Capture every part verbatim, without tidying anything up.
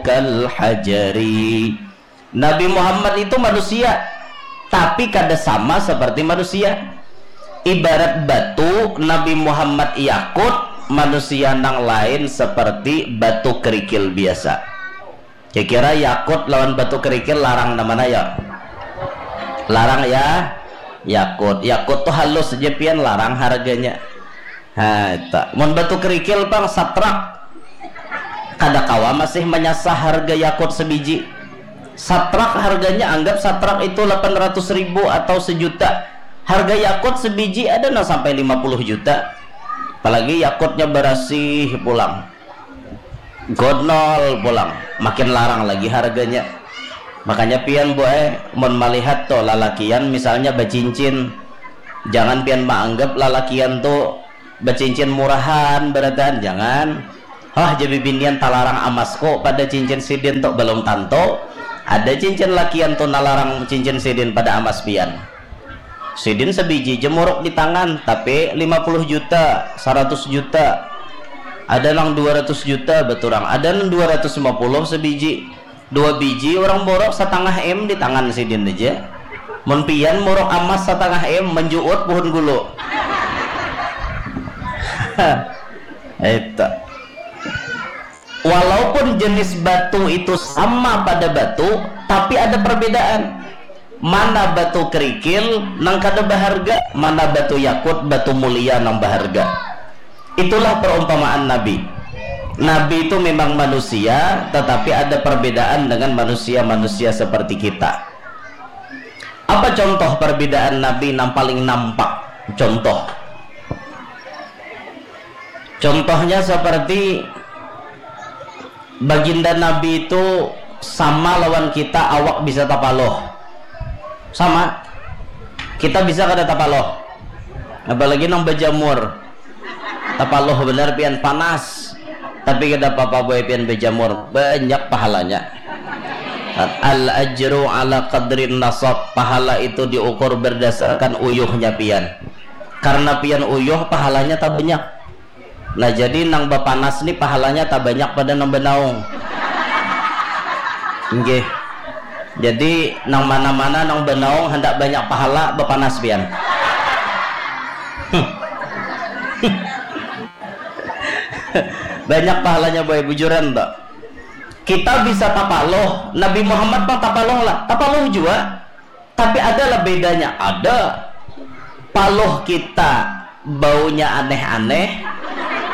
kal hajari. Nabi Muhammad itu manusia, tapi kada sama seperti manusia. Ibarat batu, Nabi Muhammad yakut, manusia nang lain seperti batu kerikil biasa. Kira-kira yakut lawan batu kerikil larang nang mana ya? Larang ya, yakut. Yakut tuh halus aja pian, larang harganya. Nah, itu. Mun batu kerikil pang satrak. Kada kawa masih manyasah harga yakut sebiji. Satrak harganya, anggap satrak itu delapan ratus ribu atau sejuta. Harga yakut sebiji ada nang sampai lima puluh juta. Apalagi yakutnya barasih pulang. Godnol pulang, makin larang lagi harganya. Makanya pian, Bu, eh, mun malihat tuh lalakian misalnya bacincin, jangan pian maanggap lalakian tuh bacincin murahan, barataan, jangan. Hah, jadi binian talarang amasku pada cincin sidin tuh, belum tantu. Ada cincin lakian tuh nalarang cincin sidin pada amas pian. Sidin sabiji jemuruk di tangan, tapi lima puluh juta, seratus juta. Ada nang dua ratus juta baturang, ada nang dua ratus lima puluh sabiji. Dua biji orang borok satangah M di tangan sidin aja. Mun pian muruk amas satangah M, menjuut pohon gulu. Itu. Walaupun jenis batu itu sama pada batu, tapi ada perbedaan. Mana batu kerikil nang kada baharga, mana batu yakut, batu mulia nang baharga. Itulah perumpamaan Nabi. Nabi itu memang manusia, tetapi ada perbedaan dengan manusia-manusia seperti kita. Apa contoh perbedaan Nabi nang paling nampak? Contoh. Contohnya seperti baginda Nabi itu sama lawan kita, awak bisa tapaloh. Sama. Kita bisa kada tapaloh? Apalagi nang bajamur. Tapaloh benar pian, panas. Tapi kada apa-apa, boy, pian bajamur. Banyak pahalanya. Al ajru ala qadrin nasab. Pahala itu diukur berdasarkan uyuhnya pian. Karena pian uyuh, pahalanya tabanyak. Nah, jadi nang bapanas ni pahalanya tabanyak pada nang banaung. Nggih. Jadi, nang mana-mana nang banaung handak banyak pahala, bapanas pian. Banyak pahalanya, boy, bujuran, Mbak. Kita bisa tapaloh, Nabi Muhammad pang tapaloh lah, tapaloh jua. Tapi adalah bedanya, ada. Paloh kita baunya aneh-aneh,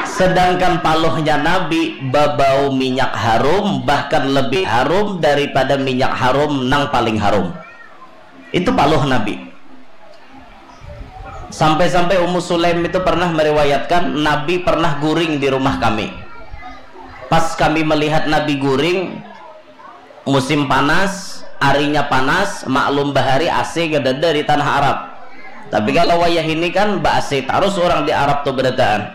sedangkan palohnya Nabi babau minyak harum, bahkan lebih harum daripada minyak harum nang paling harum. Itu paloh Nabi. Sampai-sampai Ummu Sulaim itu pernah meriwayatkan, Nabi pernah guring di rumah kami. Pas kami melihat Nabi guring, musim panas, arinya panas, maklum bahari A C kadada di tanah Arab. Tapi kalau wayah ini kan ba A C tarus orang di Arab tuh berataan.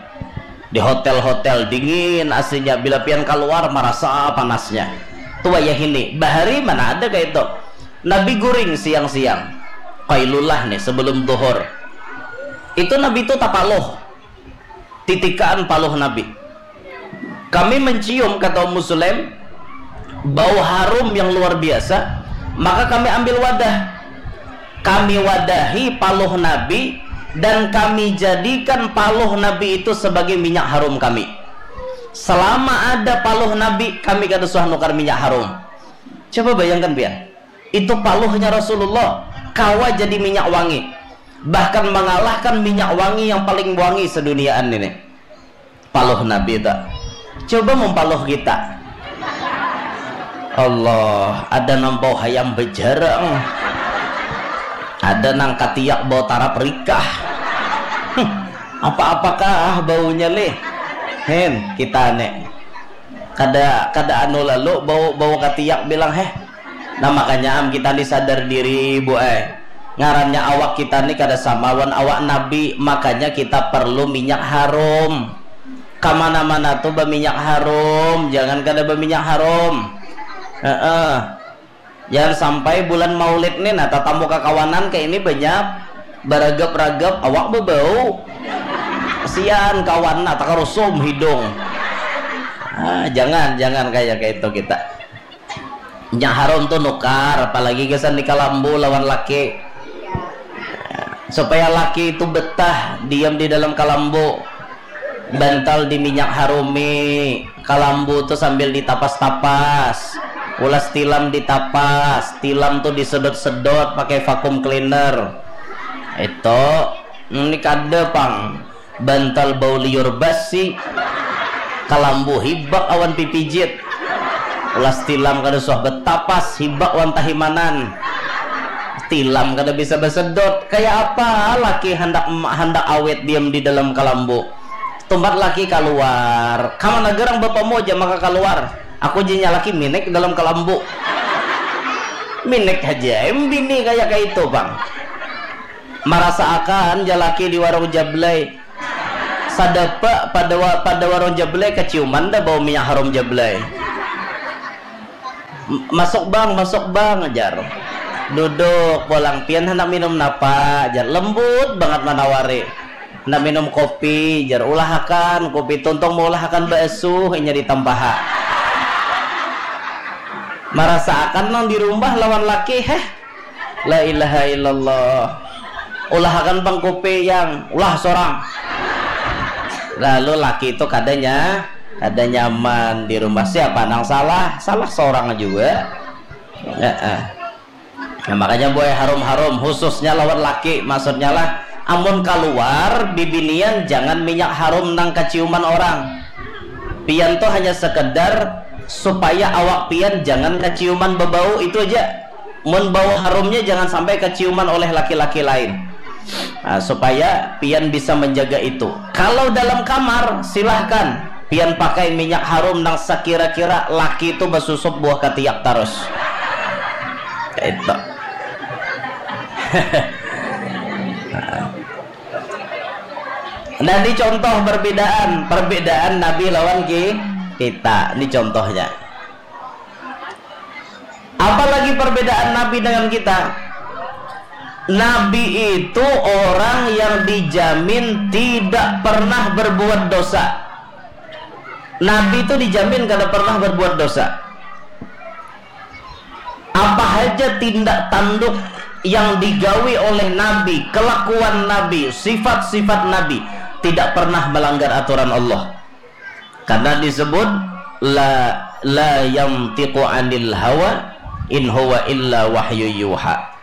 Di hotel-hotel dingin A C-nya, bila pian kaluar marasa panasnya. Tuh wayah ini, bahari mana ada kayak itu. Nabi guring siang-siang. Qailulah nih, sebelum duhur. Itu Nabi itu tapaluh. Titikaan paluh Nabi. Kami mencium, kata Ummu Sulaim, bau harum yang luar biasa, maka kami ambil wadah. Kami wadahi paluh Nabi dan kami jadikan paluh Nabi itu sebagai minyak harum kami. Selama ada paluh Nabi, kami kada suah nukar minyak harum. Coba bayangkan, pian. Itu paluhnya Rasulullah, kawa jadi minyak wangi. Bahkan mengalahkan minyak wangi yang paling wangi seduniaan ini. Paluh Nabi itu. Coba mumpaluh kita. Allah, ada nang bau hayam bejarang. Ada nang katiak bau tarap rikah. Apa-apakah baunya lih? Hen, kita nih. Kada, kada anu lalu bau, bau katiak bilang, heh. Nah, makanya am kita ni sadar diri, Bu, eh. Ngarannya awak kita ni kada sama wan awak Nabi, makanya kita perlu minyak harum. Kamana-mana tuh baminyak harum, jangan kada baminyak harum. Heeh. Jangan sampai bulan Maulid nih, nah, tatamu kakawanan kayak ini banyak baragap-ragap, awak bebau. Kasihan kawan, nah, takarusum hidung. Ah, jangan, jangan kayak kayak itu kita. Minyak harum tu nukar, apalagi gasan di kalambu lawan laki. Supaya laki itu betah diam di dalam kalambu, bantal di minyak harumi, kalambu tu sambil ditapas-tapas, ulas tilam ditapas, tilam tu disedot-sedot pakai vacuum cleaner. Itu, ini kada pang. Bantal bau liur basi, kalambu hibak awan pipijit, ulas tilam kada suah betapas, hibak wan tahimanan, tilam kada bisa basedot. Kaya apa laki handak handak awet diam di dalam kalambu? Tumpat laki kaluar, kamana garang bapamu aja maka kaluar. Aku jinya laki minik dalam kalambu. Minik haja em bini kaya kaitu pang. Marasaakan jalaki di warung jablay. Sadapa pada wa, pada warung jablay kaciuman dah bau minyak harum jablay. "Masuk bang, masuk bang," jar. Duduk pulang, "Pian handak minum napa?" jar. Lembut banget manawari. "Handak minum kopi," jar. "Ulahakan kopi, tuntung maulahakan baasuh inya ditampaha." Marasaakan nang di rumah lawan laki, heh. La ilaha illallah. Ulahakan pang kupi yang ulah sorang. Lalu laki itu kadanya kada nyaman di rumah. Siapa nang salah? Salah sorang juga. Heeh. Nah, makanya buai harum-harum khususnya lawan laki, maksudnya lah amun kaluar bibinian jangan minyak harum nang kaciuman orang. Pian tuh hanya sekedar supaya awak pian jangan kaciuman bebau itu aja. Mun bau harumnya jangan sampai keciuman oleh laki-laki lain. Nah, supaya pian bisa menjaga itu. Kalau dalam kamar, silahkan pian pakai minyak harum nang sekira-kira laki itu basusup buah ketiak terus. Itu. Nah, ini contoh perbedaan, perbedaan Nabi lawan ki, kita. Ini contohnya. Apalagi perbedaan Nabi dengan kita? Nabi itu orang yang dijamin tidak pernah berbuat dosa. Nabi itu dijamin kada pernah berbuat dosa. Apa haja tindak tanduk yang digawi oleh Nabi, kelakuan Nabi, sifat-sifat Nabi, tidak pernah melanggar aturan Allah. Karena disebut la la yantiqu anil hawa in huwa illa wahyu yuha.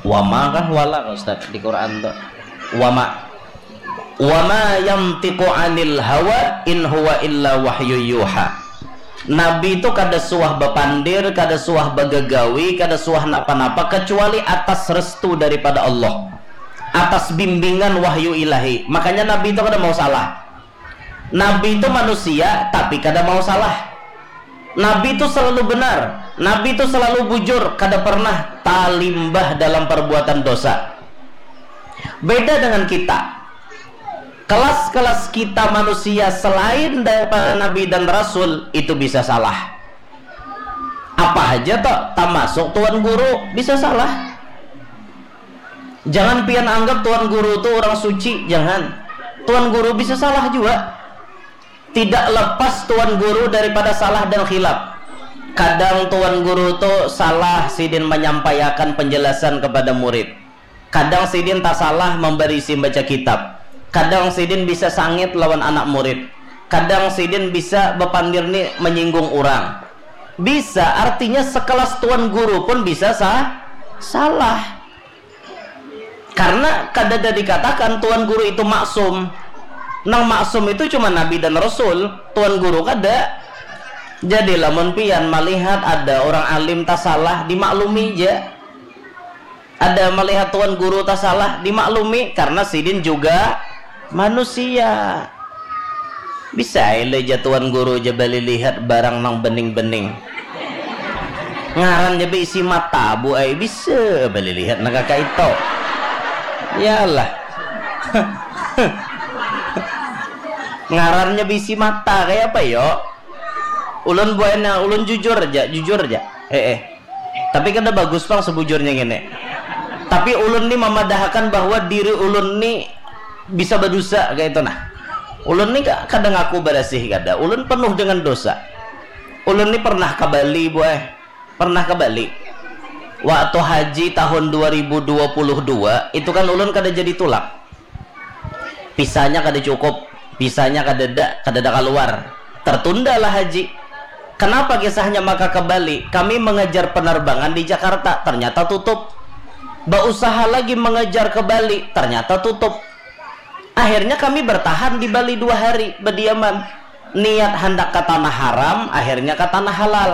Wama kah wala kah Ustaz di Quran tu? Wama. Wama yantiqu anil hawa in huwa illa wahyu yuha. Nabi itu kada suah bapandir, kada suah bagagawi, kada suah napa-napa kecuali atas restu daripada Allah, atas bimbingan wahyu ilahi. Makanya Nabi itu kada mau salah. Nabi itu manusia tapi kada mau salah. Nabi itu selalu benar. Nabi itu selalu bujur, kada pernah talimbah dalam perbuatan dosa. Beda dengan kita. Kelas-kelas kita manusia selain daripada Nabi dan Rasul itu bisa salah. Apa aja toh, termasuk tuan guru bisa salah. Jangan pian anggap tuan guru tu orang suci, jangan. Tuan guru bisa salah juga. Tidak lepas tuan guru daripada salah dan khilaf. Kadang tuan guru tu salah sidin menyampaikan penjelasan kepada murid. Kadang sidin tasalah memberisi baca kitab. Kadang sidin bisa sangit lawan anak murid. Kadang sidin bisa bepandir ni menyinggung orang. Bisa, artinya sekelas tuan guru pun bisa sa salah. Karena kada ada dikatakan tuan guru itu maksum. Nang maksum itu cuma nabi dan rasul, tuan guru kada. Jadi lamun pian malihat ada orang alim tasalah, dimaklumi ja. Ada malihat tuan guru tasalah, dimaklumi karena sidin juga manusia. Bisa ai leh ja tuan guru ja balilihat barang nang bening-bening. Ngarannya beisi mata bu ai bisa balilihat nang kaka itu. Yalah. Ngarannya beisi mata kayak apa yo? Ulun buahnya ulun jujur aja, jujur aja. Eh eh. Tapi kada bagus pang sebujurnya ngini. Tapi ulun ni mamadahakan bahwa diri ulun ni bisa badusa kayak itu nah. Ulun ni kada ngaku barasih kada. Ulun penuh dengan dosa. Ulun ni pernah ka Bali, buai. Pernah ka Bali. Waktu haji tahun dua ribu dua puluh dua, itu kan ulun kada jadi tulak. Visanya kada cukup, visanya kadada, kadada kaluar. Tertundalah haji. Kenapa kisahnya maka ke Bali? Kami mengejar penerbangan di Jakarta, ternyata tutup. Bausaha lagi mengejar ke Bali, ternyata tutup. Akhirnya kami bertahan di Bali dua hari, bediaman. Niat handak ke tanah haram, akhirnya ke tanah halal.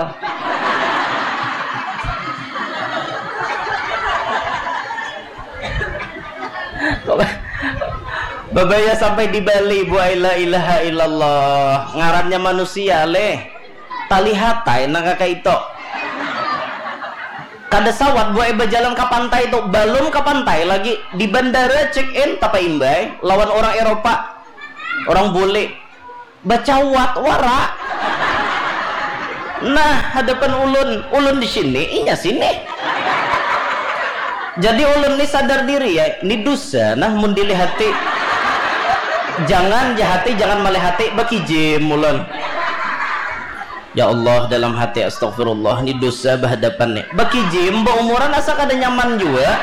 Babaya sampai di Bali, buai, la ilaha illallah. Ngarannya manusia, leh. Talihat ai nang kaka itu. Kada sawat, buai, bajalan ka pantai tu. Balum ka pantai lagi. Di bandara check in, tapaimbai lawan orang Eropa. Orang bule. Bacawat wara. Nah, hadapan ulun, ulun di sini, inya sini. Jadi ulun ni sadar diri ya, ni dusa nah mun dilihati. Jangan jahati, jangan malihati, bakijim ulun. Ya Allah, dalam hati, astagfirullah, ni dusa bahadapan ni. Bakijim, baumuran asa kada nyaman jua.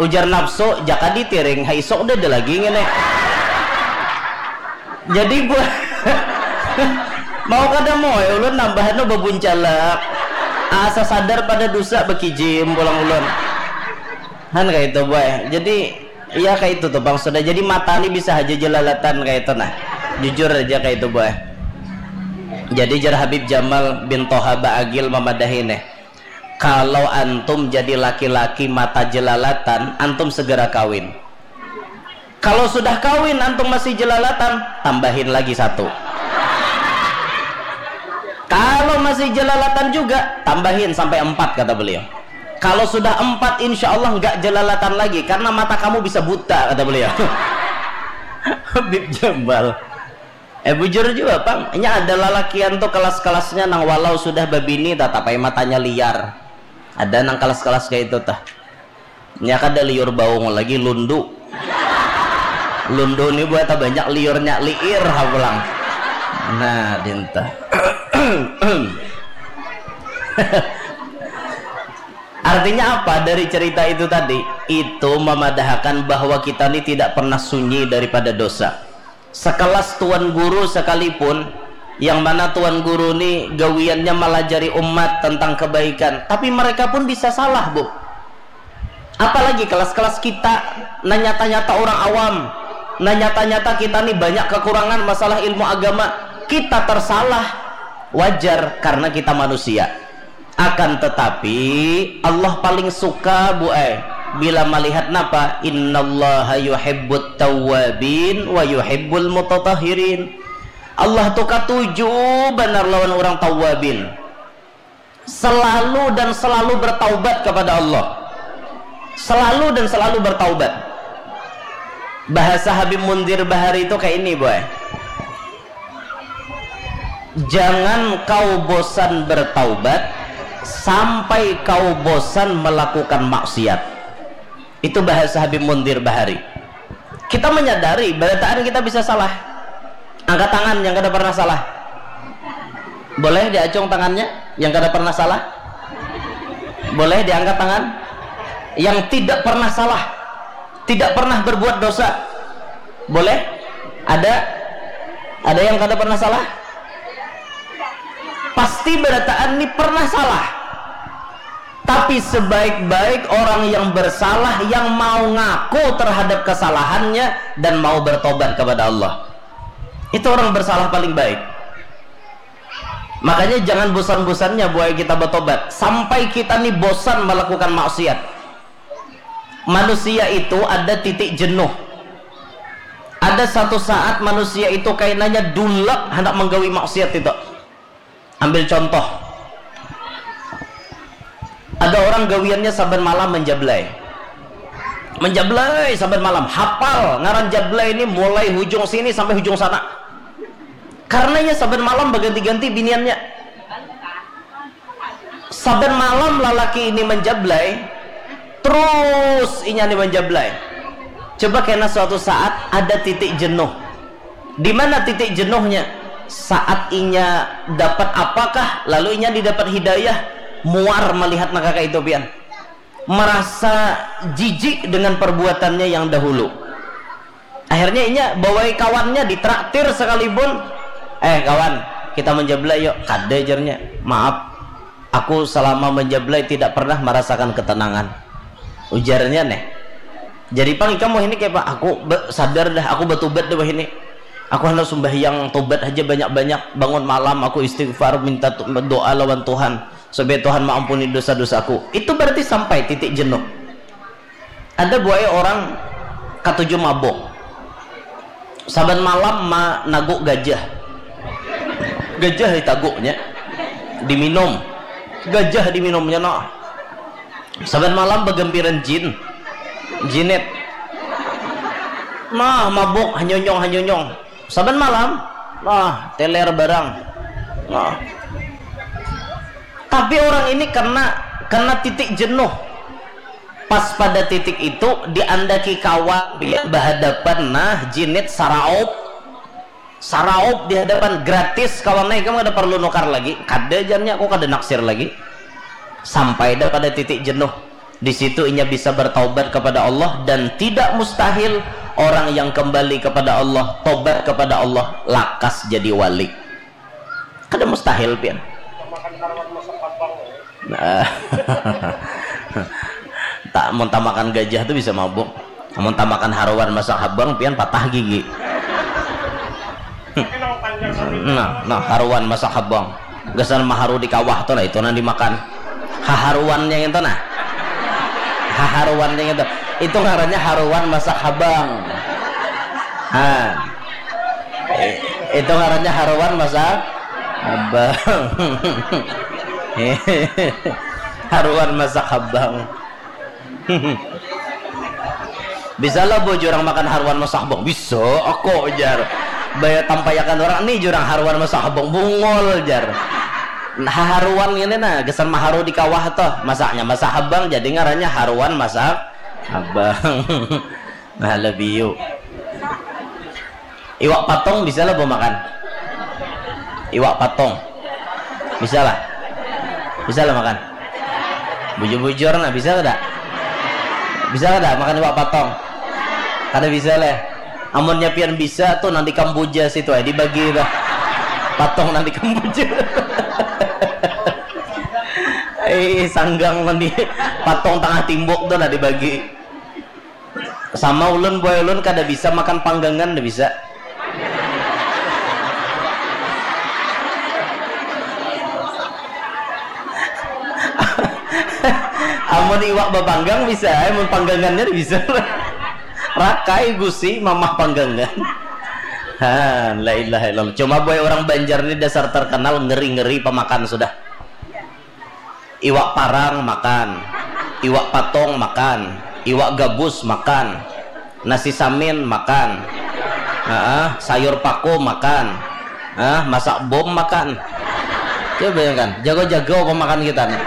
Ujar nafsu, jaka ditiring, ha isuk dah ada lagi ngini. Jadi buah mau kada mau ya ulun nambah anu babuncalak. Asa sadar pada dusa bakijim pulang ulun. Han kaitu buah. Jadi iya kaitu tu pang sudah. Jadi mata ni bisa haja jelalatan kaitu nah. Jujur aja kaitu buah. Jadi jar Habib Jamal bin Toha Baagil mamadahi nih. Kalau antum jadi laki-laki mata jelalatan, antum segera kawin. Kalau sudah kawin, antum masih jelalatan, tambahin lagi satu. Kalau masih jelalatan juga, tambahin sampai empat, kata beliau. Kalau sudah empat, insya Allah nggak jelalatan lagi, karena mata kamu bisa buta, kata beliau. Habib Jambal. Eh, bujur jua pang, nya ada lalakian tu kelas-kelasnya nang walau sudah babini tatap ai matanya liar. Ada nang kelas-kelas kaya itu tah. Nya kada liur baung lagi, lundu. Lundu ni buat banyak liurnya, liir ha pulang. Nah, dinta. Artinya apa dari cerita itu tadi? Itu memadahakan bahwa kita ni tidak pernah sunyi daripada dosa. Sekelas tuan guru sekalipun, yang mana tuan guru ni gawiannya malajari umat tentang kebaikan, tapi mereka pun bisa salah, Bu. Apalagi kelas-kelas kita, nanyata-nyata orang awam, nanyata-nyata kita ni banyak kekurangan masalah ilmu agama, kita tersalah, wajar karena kita manusia. Akan tetapi, Allah paling suka, Bu ai, bila malihat napa? Innallaha yuhibbut tawwabin wa yuhibbul mutatahhirin. Allah tu katuju banar lawan urang tawwabin. Selalu dan selalu bertaubat kepada Allah. Selalu dan selalu bertaubat. Bahasa Habib Munzir Bahari itu kayak ini, boy. Jangan kau bosan bertaubat sampai kau bosan melakukan maksiat. Itu bahasa Habib Munzir Bahari. Kita menyadari, berataan kita bisa salah. Angkat tangan yang kada pernah salah. Boleh diacung tangannya yang kada pernah salah? Boleh diangkat tangan yang tidak pernah salah, tidak pernah berbuat dosa. Boleh? Ada? Ada yang kada pernah salah? Pasti berataan ini pernah salah. Tapi sebaik-baik orang yang bersalah, yang mau ngaku terhadap kesalahannya dan mau bertobat kepada Allah. Itu orang bersalah paling baik. Makanya jangan bosan-bosannya buai kita bertobat. Sampai kita nih bosan melakukan maksiat. Manusia itu ada titik jenuh. Ada satu saat manusia itu kainanya dulak hendak menggawi maksiat itu. Ambil contoh. Ada orang gawiannya saban malam menjablay. Menjablay saban malam, hafal ngaran jablay ini mulai hujung sini sampai hujung sana. Karenanya saban malam berganti-ganti biniannya. Saban malam lalaki ini menjablay, terus inya ini menjablay. Coba kena suatu saat ada titik jenuh. Di mana titik jenuhnya? Saat inya dapat apakah, lalu inya didapat hidayah, muar melihat nang kaya itu pian. Merasa jijik dengan perbuatannya yang dahulu. Akhirnya inya bawai kawannya ditraktir sekalipun, "Eh kawan, kita menjablai yuk." "Kada," jarnya. "Maaf, aku selama menjablai tidak pernah merasakan ketenangan," ujarnya neh. Jadi pang ikam wahini kayak apa? "Aku be- sadar dah, aku batubat dah wahini. Aku hendak sumbahyang tobat aja banyak-banyak, bangun malam aku istighfar, minta tu- doa lawan Tuhan supaya Tuhan maampuni dosa-dosaku." Itu berarti sampai titik jenuh. Ada buaya orang katuju mabuk. Saban malam managu gajah. Gajah ditaguknya, diminum. Gajah diminumnya nah. Saban malam bagampiran jin, jinit. Nah, mabuk hanyonyong hanyonyong. Saban malam, nah, teler barang. Nah. Tapi orang ini kena kena titik jenuh. Pas pada titik itu diandaki kawan dia bahadapan, nah, jinit saraup. Saraup di hadapan gratis kawan, nah, ikam kada perlu nukar lagi. Kada, jarnya, aku kada naksir lagi. Sampai dah pada titik jenuh. Di situ inya bisa bertaubat kepada Allah dan tidak mustahil orang yang kembali kepada Allah, tobat kepada Allah, lakas jadi wali. Kada mustahil pian. Nah. Tak, mun tamakan gajah tu bisa mabuk. Mun tamakan haruan masak habang pian patah gigi. Nah, nah, haruan masak habang. Gasan maharu di kawah tu lah itu nang dimakan. Haharuannya itu nah. Haharuannya itu. Itu ngarannya haruan masak habang. Ha. Itu ngarannya haruan masak habang. Haruan masak habang. Bisa lah bu jurang makan haruan masak habang? Bisa, aku jar. Baya tampayakan orang ni jurang haruan masak habang, bungol jar. Nah, haruan ini nah, gesan maharu di kawah tuh, masaknya masak habang, jadi ngarannya haruan masak habang. Nah, lebih yuk. Iwak patong bisa lah bu makan. Iwak patong. Bisa lah. Bisa lah makan. Bujur-bujur nah, bisa kada? Bisa kada makan iwak patong? Kada bisa leh. Amunnya pian bisa tuh nanti Kamboja situ aja dibagi tuh. Patong nanti Kamboja. Eh, sanggang nanti patong tengah timbuk tuh nah dibagi. Sama ulun boy, ulun kada bisa makan panggangan, kada bisa. Amun iwak bapanggang bisa, amun panggangannya kada bisa. Rakai gusi mamah panggangan. Ha, la ilaha illallah. Cuma boy orang Banjar ni dasar terkenal ngeri-ngeri pamakan sudah. Iwak parang makan, iwak patong makan, iwak gabus makan, nasi samin makan, heeh, sayur paku makan, heeh, masak bom makan. Coba bayangkan, jago-jago pamakan kita nih.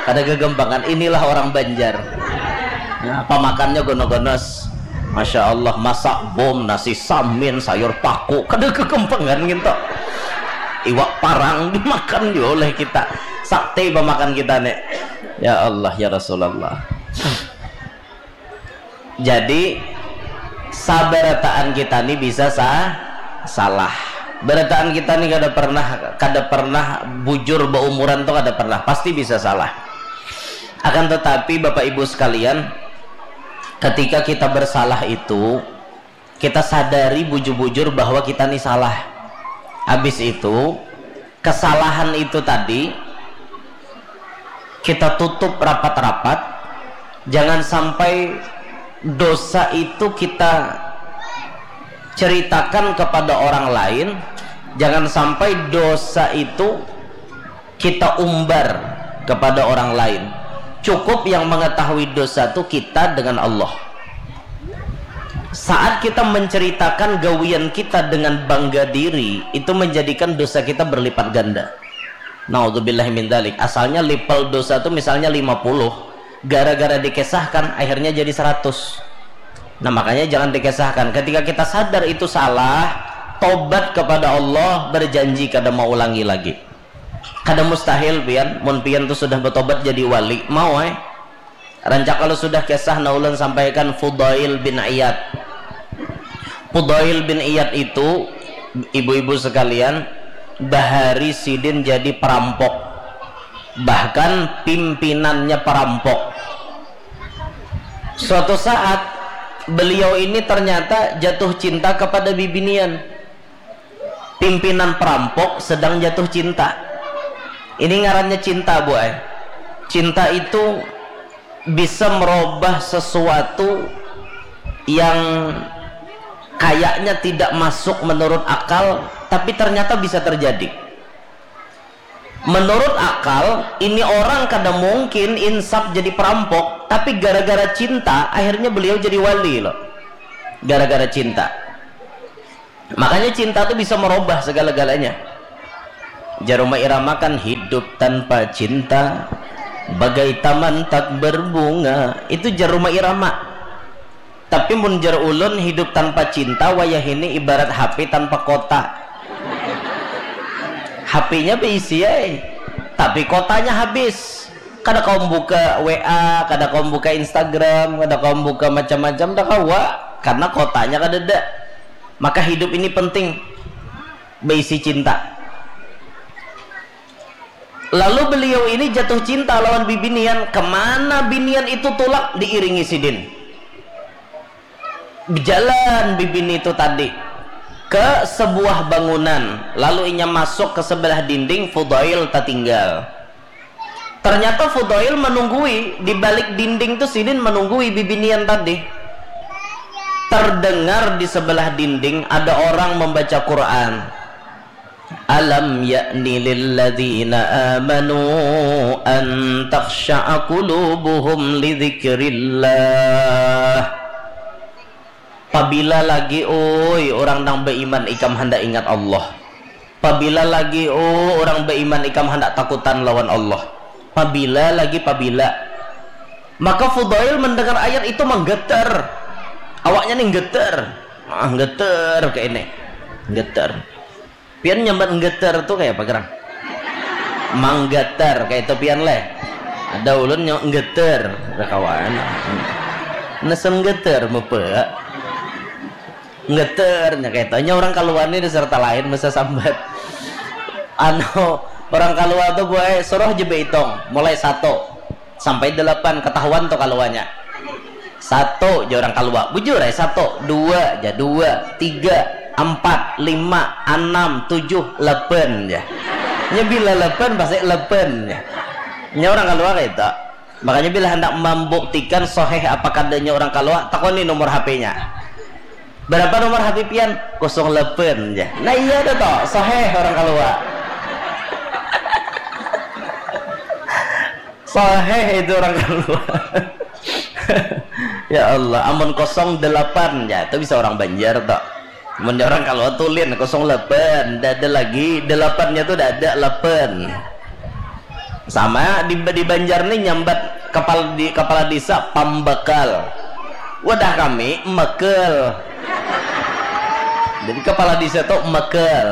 Kada gegempangan, inilah orang Banjar. Nah, pamakannya gono-gonos. Masya Allah, masak bom, nasi samin, sayur paku, kada kekempengan gitu. Iwak parang dimakan juga oleh kita. Sakti pamakan kita nih. Ya Allah, ya Rasulullah. Jadi sabarataan kita nih bisa sa salah. Barataan kita nih kada pernah kada pernah bujur, baumuran tuh kada pernah, pasti bisa salah. Akan tetapi Bapak Ibu sekalian, ketika kita bersalah itu, kita sadari bujur-bujur bahwa kita nih salah. Habis itu, kesalahan itu tadi kita tutup rapat-rapat. Jangan sampai dosa itu kita ceritakan kepada orang lain. Jangan sampai dosa itu kita umbar kepada orang lain. Cukup yang mengetahui dosa itu kita dengan Allah. Saat kita menceritakan gawian kita dengan bangga diri, itu menjadikan dosa kita berlipat ganda. Naudzubillah min dzalik. Asalnya level dosa itu misalnya lima puluh, gara-gara dikesahkan akhirnya jadi seratus. Nah, makanya jangan dikesahkan. Ketika kita sadar itu salah, tobat kepada Allah, berjanji kada maulangi lagi. Kada mustahil pian, mun pian tu sudah betobat jadi wali, mau ai. Rancak kalau sudah kisah nang ulun sampaikan Fudail bin Iyad. Fudail bin Iyad itu, ibu-ibu sekalian, bahari sidin jadi perampok. Bahkan pimpinannya perampok. Suatu saat, beliau ini ternyata jatuh cinta kepada bibinian. Pimpinan perampok sedang jatuh cinta. Ini ngarannya cinta, Bu ai. Cinta itu bisa merubah sesuatu yang kayaknya tidak masuk menurut akal, tapi ternyata bisa terjadi. Menurut akal, ini orang kada mungkin insap jadi perampok, tapi gara-gara cinta, akhirnya beliau jadi wali loh. Gara-gara cinta. Makanya cinta tuh bisa merubah segala-galanya. Jar Rhoma Irama kan, "Hidup tanpa cinta bagai taman tak berbunga." Itu jar Rhoma Irama. Tapi mun jar ulun, hidup tanpa cinta wayah ini ibarat H P tanpa kota. H P-nya beisi ai, tapi kotanya habis. Kada kawa buka W A, kada kawa buka Instagram, kada kawa buka macam-macam, dah kawa, karena kotanya kadada. Maka hidup ini penting, beisi cinta. Lalu beliau ini jatuh cinta lawan bibinian. Kemana binian itu tulak, diiringi sidin. Bejalan bibini itu tadi ke sebuah bangunan, lalu inya masuk ke sebelah dinding, Fudail tatinggal. Ternyata Fudail menunggui di balik dinding tu, sidin menunggui bibinian tadi. Terdengar di sebelah dinding ada orang membaca Quran. "Alam ya'ni lilladzina amanu an takhsha'a qulubuhum lidzikrillah." Pabila lagi, oi, orang nang beiman ikam handak ingat Allah? Pabila lagi, oh, orang beiman ikam handak takutan lawan Allah? Pabila lagi, pabila? Maka Fudail mendengar ayat itu menggetar. Awaknya nih getar. Ah, getar kayak ini. Getar. Pian nyambat nggeter tu kaya apa gerang? Manggeter kaya itu pian leh. Ada ulun nyo nggeter, kada kawan. Nasa nggeter mupa. Nggeter nya kaya itu. Nya orang kaluar ni diserta lain masa sambat. Anu, orang kaluar tu buai suruh je beitung mulai satu sampai delapan, ketahuan tu kaluarnya. Satu ja orang kalua, bujur ai satu, dua ja, dua, tiga, ampat, lima, anam, tujuh, lapan ja. Nya bila lapan pasti lapan ja. Nya orang kalua kaitu. Makanya bila handak mambuktikan soheh apa kadanya orang kalua, takoni nomor H P-nya. Berapa nomor H P pian? Kosong lapan ja. Nah iya dah toh, soheh orang kalua. Soheh itu orang kalua. Ya Allah, amun kosong delapan ja, itu bisa orang Banjar toh. Mun orang kalua tulin, kosong lapan, dah ada lagi, delapannya tu dah ada, lapan. Sama di, di Banjar ni nyambat kepala di, kepala desa pambakal. Wadah kami mekel. Jadi kepala desa tu mekel.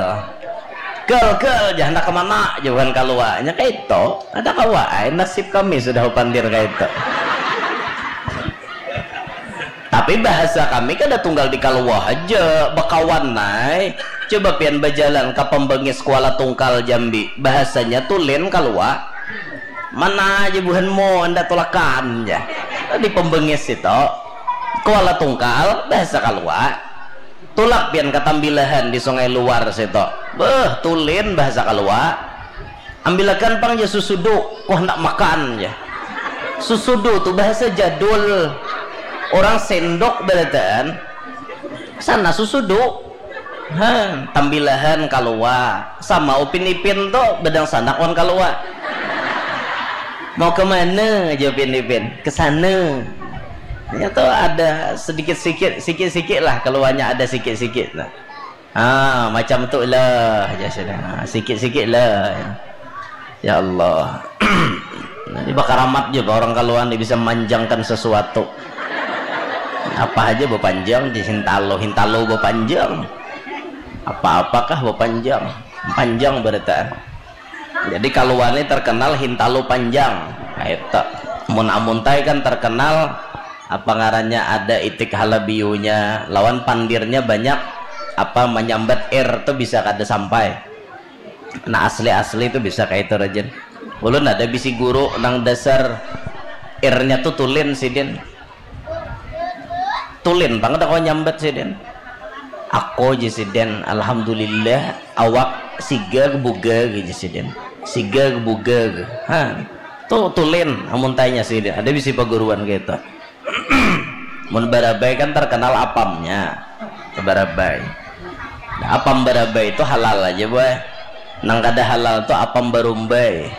Kel, kel, ja handak kemana? Jauhan kaluarnya kaitu. Ada kawa ai, nasib kami sudah upandir kaitu. Tapi bahasa kami kada tunggal di kalua haja, bakawan ai. Coba pian bajalan ka Pembengis Kuala Tungkal Jambi, bahasanya tulen kalua. Mana aja buhanmu, anda tulakan ja. Di Pembengis itu, Kuala Tungkal, bahasa kalua. Tulak pian ka Tambilahan di Sungai Luar situ. Beuh, tulin bahasa kalua. Ambilakan pang ja susudu, ku handak makan ja. Susudu tu bahasa jadul. Orang sendok barataan. Sana susudu. Ha, Tambilahan kalua. Sama Upin Ipin tu badangsanak wan kalua. Mau ke mana ja Upin Ipin? Ke sana. Nya tu ada sedikit-sikit, sikit-sikit lah kaluanya ada sikit-sikit lah. Ah, macam tu lah, ja sudah. Ah, sikit-sikit lah. Ya Allah. Jadi bakaramat ja orang kaluan ni bisa manjangkan sesuatu. Apa aja bapanjang, di hintalo, hintalo bapanjang. Apa-apakah bapanjang, panjang barataan. Jadi kaluan ni terkenal hintalu panjang. Nah, itu. Mun Amuntai kan terkenal apa ngarannya, ada itik halabiunya, lawan pandirnya banyak, apa, manyambat ir tu bisa kada sampai. Nah, asli-asli tu bisa kayak itu, Rajen. Ulun ada bisi guru nang dasar irnya tu tulin sidin. Tulin pang kada kawa nyambat sidin. Aku, ji sidin, alhamdulillah, awak sigag bugag, ji sidin. Sigag bugag. Ha. Tu tulin amun tanya sidin. Ada bisi paguruan kaitu. Mun Barabai kan terkenal apamnya. Barabai. Nah, apam Barabai itu halal aja, boy. Nang kada halal tu apam Barumbai.